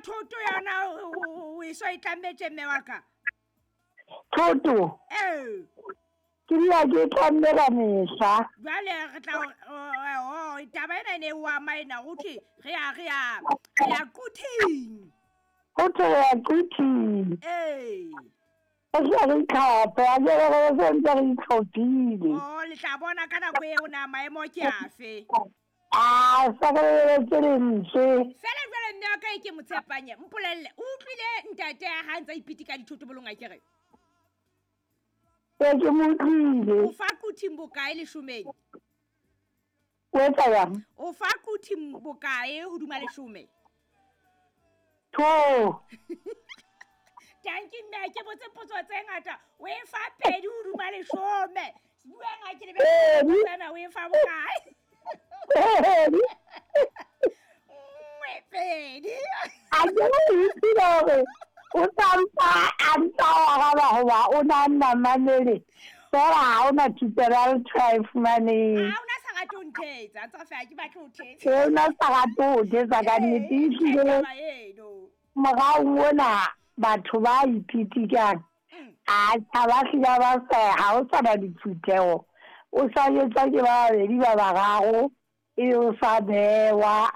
Thoto yona o e so e tlammetse mme wa ka? Thoto? Ee. Ke dula ke tlamme ka mehla. Jwale re tla o taba ena e ne o ama ena go thwe re ya re ya re ya quthing. Go thwe re ya quthing. Ee. Re tle re itlhophe, a ke re re se ntse re itlhophile. Oh, le tla bona ka nako eo na maemo ke afe. A sa re lebeletse lentswe. Fela jwale mme wa ka e ke motshepanye, mpolelle, o utlwile ntate ya ha ntse a ipitika dithotobolong a kere? Ee, ke mo utlwile. O fa quthing bokae leshomeng? O etsa jang? O fa quthing bokae hodima leshome? Two. Tanki mme ke botse potso tse ngata. O e fa pedi hodima leshome. Buang ha ke lebe tsena o e fa bokae? Pedi. Nngwe pedi. A ke o utlwile hore o tsampa a ntsa o araba hoba o na nna mamele. Fela ha ona thupelo ya letho a e fumaneng. Ha ona sa rate ho nthetsa, ntse re ke batle ho thetsa. E ona sa rate ho thetsa ka nnete ehlile. Eno. Morao ona batho ba ipitikang. A tjha ba hlile ba sa ha o sa na diphutheho. O sa jwetswa ke ba babedi ba bararo e o sa bewa.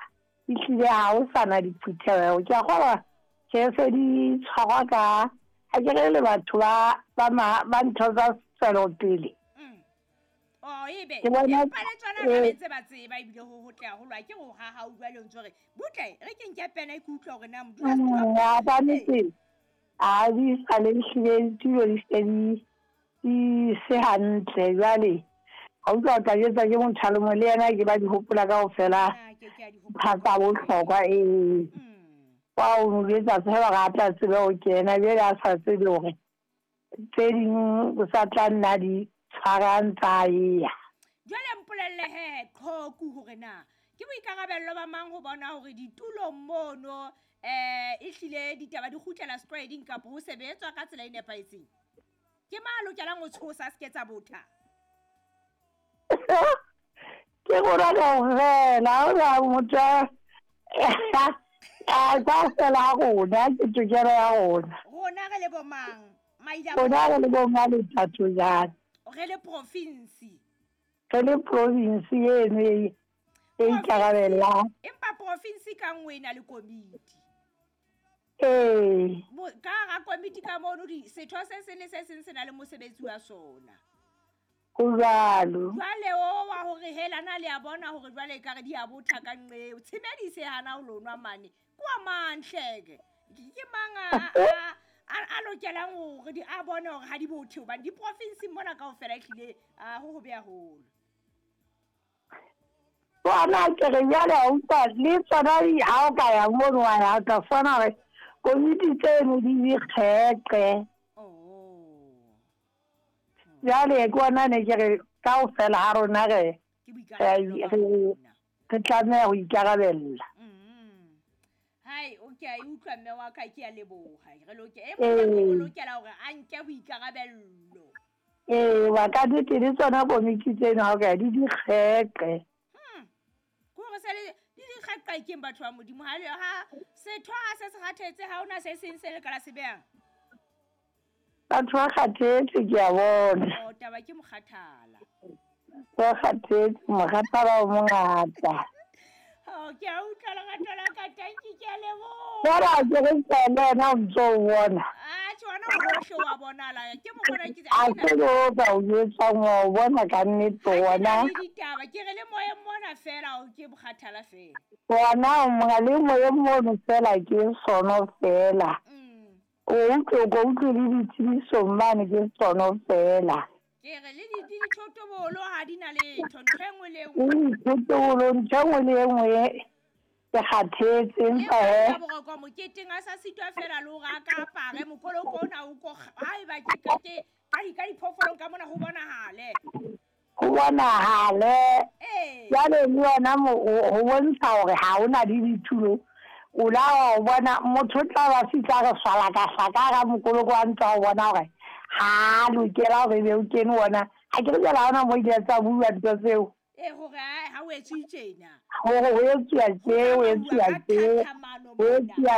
Ehlile ha o sa na diphutheho. Ke a kgolwa tjhe se di tshwarwa ka ha ke re le batho ba ba ba ntho tsa tswelopele. Oh, ebe empa le tsona ba ntse ba tseba ebile ho hotle haholo a ke ho haha o jwale o ntse re butle re ke nke pena e ke utlwa hore na modula setulo ba nnete a di sa le hlile ditulo di se di se hantle jwale ha utlwa o tla jwetsa ke motho a le mong le yena ke ba di hopola kaofela tsa bohlokwa ee. Wa o mo jwetsa fela hore a tla tsebe ho kena jwale a sa tsebe hore tse ding o sa tla nna di tshwarang tsa eya. Jwale mpolelle he qhoku hore na ke boikarabello ba mang ho bona hore ditulong mono ehlile ditaba di kgutlela setlwaeding kapa ho sebetswa ka tsela e nepahetseng? Ke mang a lokelang ho tshosa se ke tsa botha? Ke rona kaofela, ha hona motho a kaofela ha rona ke tokelo ya rona. Rona re le bo mang? Rona re le bo mang lethatho jang? Re le province. Re le province eno e ikarabellang. Empa province ka nngwe e na le komiti. Ee. Ka hara komiti ka mono setho se seng le se seng se na le mosebetsi wa sona. Ho jwalo. Jwale o wa hore hela na le a bona hore jwale ekare di a botha ka nqeo. Tshimedise hana ho lonwa mane. Kwa mang hleke? Ke mang a lokelang hore di a bone hore ha di bothe hobane di province mona kaofela ehlile ho hobe haholo. Bona ke re jwale ha utlwa le tsona ha o ka ya mono wa ya ka fona hore komiti tseno di dikgeqe. Oh. Jwale ke bona ne ke re kaofela ha rona re re tlameha ho ikarabella. Hai, okay, e utlwa mme wa ka ke a leboha. Re loke e mong o lokela hore a nke boikarabello. Ee, wa ka nnete le tsona komiti tseno ha o ka di dikgeqe. Ke hore se le di dikgeqe keng batho ba Modimo ha ha setho ha se se kgathetse ha ona se seng se le ka la se behang. Batho ba kgathetse ke a bona. Oh, taba ke mokgathala. Ba kgathetse, mokgathala o mongata. Oh, ke a utlwa lerato la ka, tanki ke a leboha. Fela ke re tsena yena o ntso o bona. Ah, tjhe wena o hohle wa bonala. Ke mo bona ke A se o ka o jwetsang wa o bona ka nnete wona. Le ditaba ke re le moyeng mona fela o ke mokgathala fela. Wona o monga le moyeng mono fela ke sono fela. O utlwe ko utlwe le ditsebisong mane ke sono fela. Ke re le dithotobolo ha di na letho ntho e nngwe le e nngwe. Dithotobolo ntho e nngwe le e nngwe ke kgathetse empa he. Boroko moketeng a sa sitwa fela le hore a ka apare mokoloko ona o ko haeba ke ka ke ka diphoofolong ka mona ho bonahale. Ho bonahale. Jwale le yona ho bontsha hore ha hona le ditulo. O la wa bona motho o tla ba fihla re swala ka hlaka ka mokoloko wa ntwa o bona hore ha lokela hore ebe o kene wona. Ha ke re jwale ha hona mo ile tsa bua ntho tseo. Ee, hore ha o etswe tjena. Hore ho etsuwa tje, ho etsuwa tje, ho etsuwa